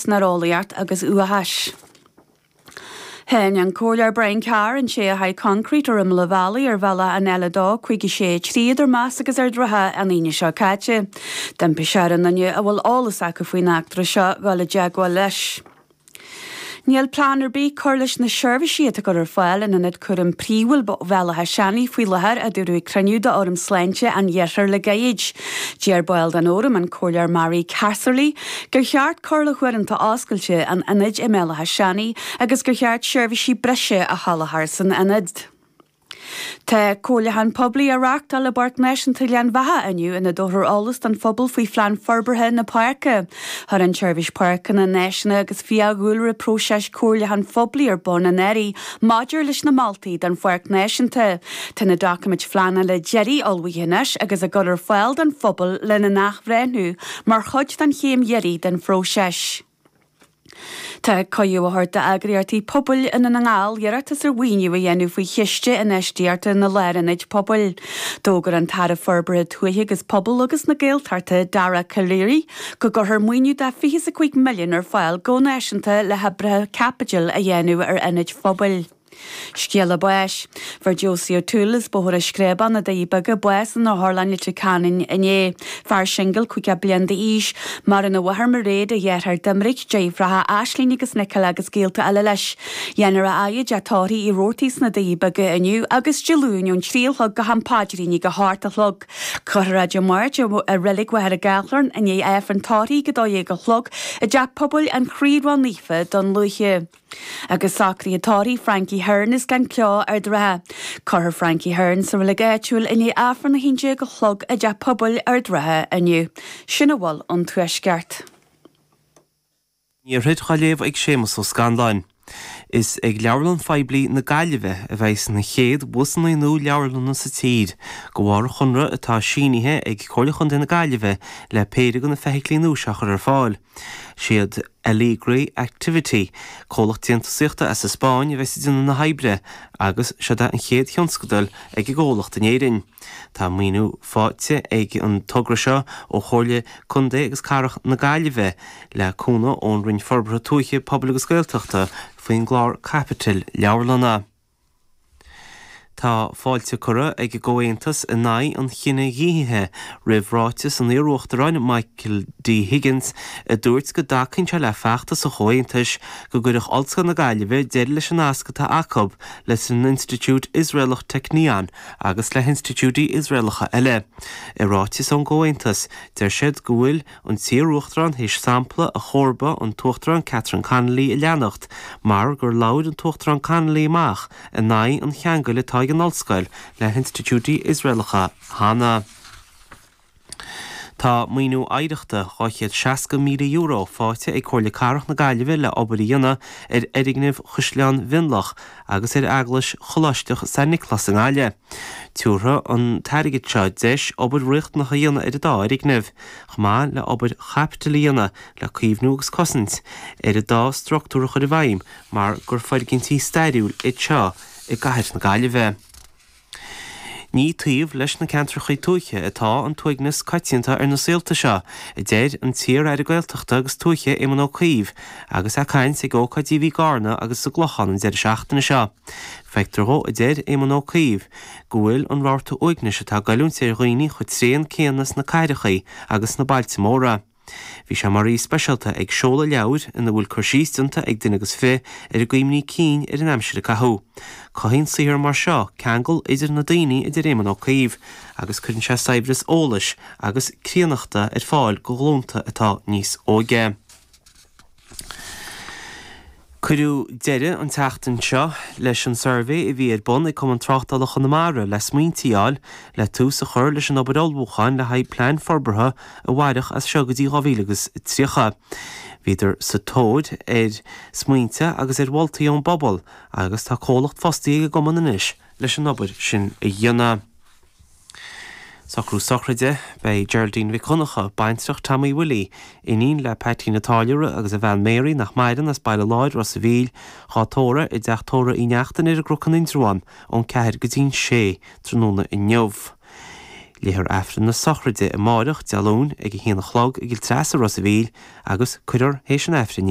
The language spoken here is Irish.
San eolaíocht agus uathachas. Cháin an Comhairleoir Brian Carr an té a sháigh coincreít ar imeall an bhealaigh ar bhealach an L2 56 3 idir Meas agus Ard an Rátha an Aoine seo caite. D'impigh sé ar aon duine a bhfuil eolas acu faoin eachtra seo dhul i dteagmháil leis. Níl plean ar bith cur leis na seirbhísí atá á gcur ar fáil in Ionad Cúraim Príomhúil Bhéal Átha Seanaidh faoi láthair, a dúradh ag cruinniú d'Fhóram Sláinte an Iarthair le gairid. Deir ball den fhóram, an Comhairleoir Mary Casserly, gur cheart cur le huaireanta oscailte an ionaid i mBéal Átha Seanaidh agus gur cheart seirbhísí breise a sholáthar san ionad. Tá comhairliúchán poiblí á reáchtáil i bPáirc Náisiúnta Ghleann Bheatha inniu ina dtabharfar eolas don phobal faoi phlean forbartha na páirce. Chuir an tSeirbhís Páirceanna Náisiúnta agus Fiadhúlra próiseas comhairliúcháin phoiblí ar bun anuraidh maidir leis na moltaí don Pháirc Náisiúnta. Tá na doiciméid phleanála deiridh ullmhaithe anois agus á gcur ar fáil don phobal lena n-athbhreithniú mar chuid den chéim dheiridh den phróiseas. Tá cuireadh á thabhairt d'eagraíochtaí pobail i nDún na nGall iarratas ar mhaoiniú a dhéanamh faoi Chiste Infheistíochta na Lárionaid Pobail. D'fhógair an tAire Forbartha Tuaithe agus Pobail agus na Gaeltachta, Dara Calleary, go gcuirfear maoiniú de 25 milliún ar fáil go náisiúnta le hoibreacha caipitil a dhéanamh ar ionaid phobail. Scéala báis. Fuair Josie O'Toole as Bóthar an Screabáin, Na Doirí Beaga, bás in Otharlann Leitir Ceanainn inné. Fear singil, 50 bliain d'aois. Maireann a mháthair Mairéad, a dheartháir Doiminic, deirfiúracha Aisling agus Nicola agus gaolta eile leis. Dhéanfar a fhaire i dteach tórraimh Uí Robhartaigh sna Doirí Beaga inniu agus Dé Luain ón 3 a chlog go ham paidrín ag a hocht a chlog. Cuirfear é Dé Máirt i Reilig Mhachaire Gathlán i ndiaidh Aifreann tórraimh ag 12 a chlog i dTeach Pobail an Chroí Ró-Naofa, Dún Lúiche. Agus socruithe tórraimh Frankie Hearn as Gleann Cló, Ard an Rátha. Cuirfear Frankie Hearn sa reilig áitiúil i ndiaidh Aifreann 11 a chlog i dTeach Pobail Ard an Rátha inniu. Sin a bhfuil ón Tuaisceart. Iarthair á léamh ag Séamus Ó Scanláin. Is ag Leabharlann Phoiblí na Gaillimhe a bheidh na chéad bhusanna nua leabharlanna sa tír, de bharr chonradh atá sínithe ag Comhairle Chontae na Gaillimhe le péire de na feithiclí nua seo a chur ar fáil. Siad Alegre Activity, comhlacht déantúsaíochta as an Spáinn, a bheas ag déanamh na hoibre agus seod é an chéad thionscadal ag an gcomhlacht in Éirinn. Tá maoiniú faighte ag an togra seo ó Chomhairle Contae agus Cathrach na Gaillimhe le cúnamh ón Roinn Forbartha Tuaithe, Pobail agus Gaeltachta faoin gclár caipitil leabharlanna. Tá fáilte curtha ag an gComhaontas in aghaidh an chinedhíothaithe roimh ráiteas an iarUachtaráin Michael D Higgins a dúirt go dtacaíonn sé le feachtas an Chomhaontais go gcuirfeadh Ollscoil na Gaillimhe deireadh leis an nasc atá acu leis an institiúid Iosraelach Technion agus le hinstitiúidí Iosraelacha eile. I ráiteas ón gComhaontas, deir siad go bhfuil an t-iarUachtarán théis sampla a chomharba an tUachtarán Catherine Connolly a leanacht mar gur labhair an tUachtarán Connolly amach in aghaidh an cheangail atá ag an ollscoil le hinstitiúidí Iosraelacha cheana. Tá maoiniú oidhreachta €260,000 faighte ag Comhairle Cathrach na Gaillimhe le obair a dhéanamh ar fhoirgnimh Chaisleán Mhionlach agus ar Eaglais Choláisteach San Nioclás i nGaillimh. Tabharfaidh an t-airgead seo deis obair riachtanach a dhéanamh ar an dá fhoirgneamh, chomh maith le obair chaipitil a dhéanamh le caomhnú agus cosaint ar an dá structúr a chur i bhfeidhm mar gur foirgintí stairiúil iad seo i gcathair na Gaillimhe. Ní taobh leis na ceantracha tuaithe atá an t-uaigneas coitianta ar na saolta seo, a deir an t-iar-aire Gaeltachta agus Tuaithe Éamon Ó Cuív agus é ag caint ag ócáidí a bhí i gCarna agus sa gClochán an deireadh seachtaine seo. Feictear dhó, a deir Éamon Ó Cuív, go bhfuil an rabharta uaignis atá ag goilliúint ar dhaoine chomh tréan céanna sna cathrachaí agus sna bailte móra. Bhí sé mar aoi speisialta ag seoladh leabhair ina bhfuil cur síos déanta ag duine agus fi ar a gcuimhní cinn ar an aimsir a caitheadh. Cothaíonn saothar mar seo ceangal idir na daoine a deir Éamon Ó Cuív agus cuireann sé saibhreas eolais agus críonnachta ar fáil go ghlúnta atá níos óige. Cuireadh deireadh an tseachtain seo leis an suirbhé a bhí ar bun ag Cumann Tráchtála Chonamara le smaointe a fháil le tús a chur leis an obair ullmhúcháin le haghaidh plean forbartha a mhairfeadh as seo go dtí 2030. Bhíodar sa tóir ar smaointe agus ar mholtaí ón bpobal agus tá comhlacht fostaithe ag an gcumann anois leis an obair sin a dhéanamh. Socrú sochraide, Beidh Geraldine Mhic Dhonncha, baintreach Tommy Willie, iníon le Peaitín an Táilliúra agus a bhean Mary nach maireann as Baile Láir, Ros a' Mhíl, dhá tórramh i dTeach Tórraimh Uí Neachtain ar an gCnoc in Indreabhán ón 4 go dtí'n 6 tráthnóna inniu. Léifear Aifreann na sochraide amáireach, Dé Luain, ag a haon a chlog i gCill Treasa, Ros a' Mhíl agus cuirfear théis an Aifrinn í.